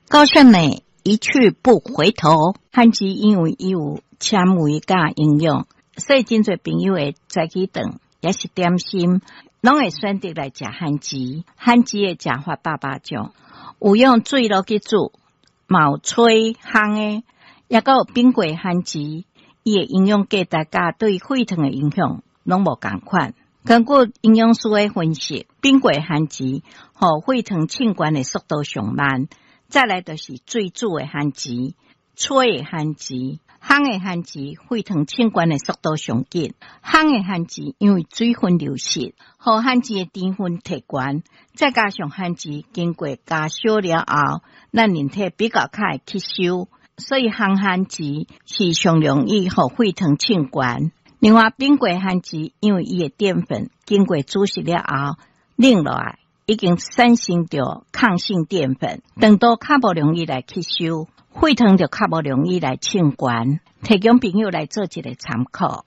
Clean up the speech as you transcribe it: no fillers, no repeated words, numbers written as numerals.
高勝美一去不回頭。番薯因為伊有纖維佮營養，所以真濟朋友會早起頓，抑是點心，攏會選擇來食番薯。番薯的食法百百種，有用水落去煮，嘛有炊烘的，抑閣有冰過番薯，伊的營養價值佮對血糖的影響攏無仝款。根據營養師的分析，冰過番薯予血糖衝懸的速度上慢。再來就是水煮的番薯、炊的番薯、烘的番薯，血糖衝懸的速度上緊。烘的番薯因為水分流失，予番薯的甜分提懸，再加上番薯經過加燒了後，咱人體比較較會吸收，所以烘番薯是上容易予血糖衝懸。另外，冰過番薯因為伊的澱粉經過煮熟了後冷落來，已經產生著抗性澱粉，腸道較無容易來吸收，血糖就較無容易來衝懸。提供朋友來做一個參考。